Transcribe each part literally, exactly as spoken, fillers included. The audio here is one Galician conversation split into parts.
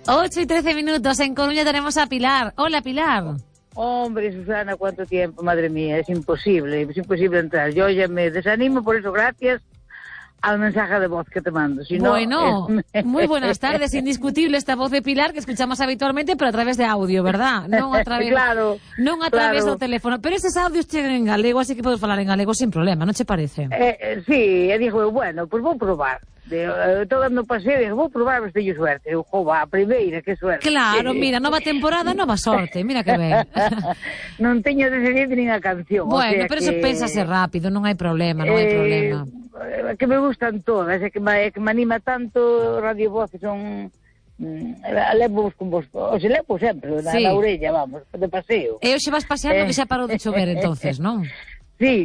ocho y trece minutos. En Coruña tenemos a Pilar. Hola, Pilar. Hombre, Susana, ¿cuánto tiempo? Madre mía, es imposible, es imposible entrar. Yo ya me desanimo, por eso gracias al mensaje de voz que te mando. Si bueno, no, es... muy buenas tardes. Indiscutible esta voz de Pilar que escuchamos habitualmente, pero a través de audio, verdad? Non a través, claro, non a través claro. do teléfono. Pero eses audios chegan en galego, así que podes falar en galego sin problema, non che parece? Eh, eh, sí, e dixo, bueno, pues vou probar. De, eh, todo dando paseo, dixo, vou probar, mas teño suerte. Eu, jova, a primeira, que suerte. Claro, mira, nova temporada, nova sorte, mira que ben. Non teño decidido nin a canción. Bueno, o sea pero que... eso pénsase rápido, non hai problema, non hai eh, problema. Que me gustan todas, é que me, que me anima tanto Radio Voz, que son... Mm, levo con vos, o se levo sempre, na, sí. na orella, vamos, de paseo. E hoxe vas paseando eh. que xa parou de chover, entonces, non? Sí,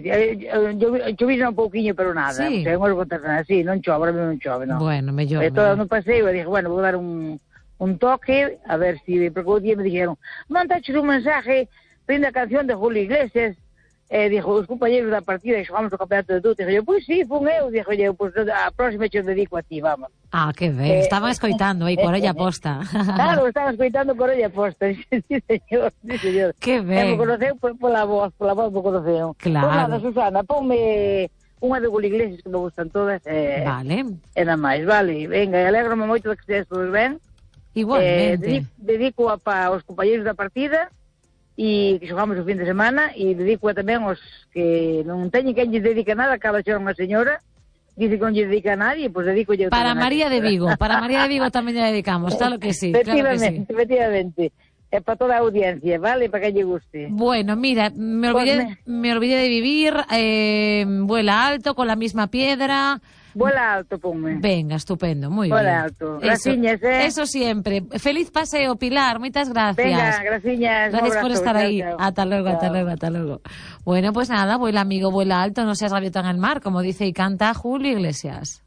chovina un pouquiño, pero nada. Sí. O sea, non contar nada, sí, non chove, ahora non chove, non. Bueno, mellor. E todo no paseo, e dije, bueno, vou dar un, un toque, a ver si, porque o día me dijeron, mandaches un mensaje, prende a canción de Julio Iglesias, e dixo, os compañeros da partida, que xogamos o campeonato de tudo, dixo, pois sí, fun eu, dixo, pois a próxima che dedico a ti, vamos. Ah, que ben, eh, estaban escoitando aí, con orella posta. Claro, estaban escoitando con orella posta, sí, señor, sí, señor. Que ben. E me conoceu pola voz, pola voz me conoceu. Claro. Pois nada, Susana, ponme unha de Julio Iglesias que me gustan todas. Eh, vale. E nada máis, vale. Venga, alegro-me moito de que estés todos ben. Igualmente. Eh, dedico, dedico a pa os compañeros da partida e que xogamos o fin de semana e dedico a tamén os que non teñen quen lle dedica nada, acaba de ser unha señora, dice que non lle dedica a nadie, pois pues dedico yo para María de Vigo, para María de Vigo tamén lle dedicamos, claro que sí. Efectivamente, claro que sí. efectivamente. É para toda a audiencia, ¿vale? Para que lle guste. Bueno, mira, me olvidé, me... me olvidé de vivir, eh, vuela alto con la misma piedra. Vuela alto, ponme. Venga, estupendo, muy vuela bien. Vuela alto. Graciñas, eh. Eso siempre. Feliz paseo, Pilar, muchas gracias. Venga, graciñas. Gracias por estar chao, ahí. chao. Hasta luego, chao. hasta luego, hasta luego. Bueno, pues nada, vuela amigo, vuela alto, no seas gaviota en el mar, como dice y canta Julio Iglesias.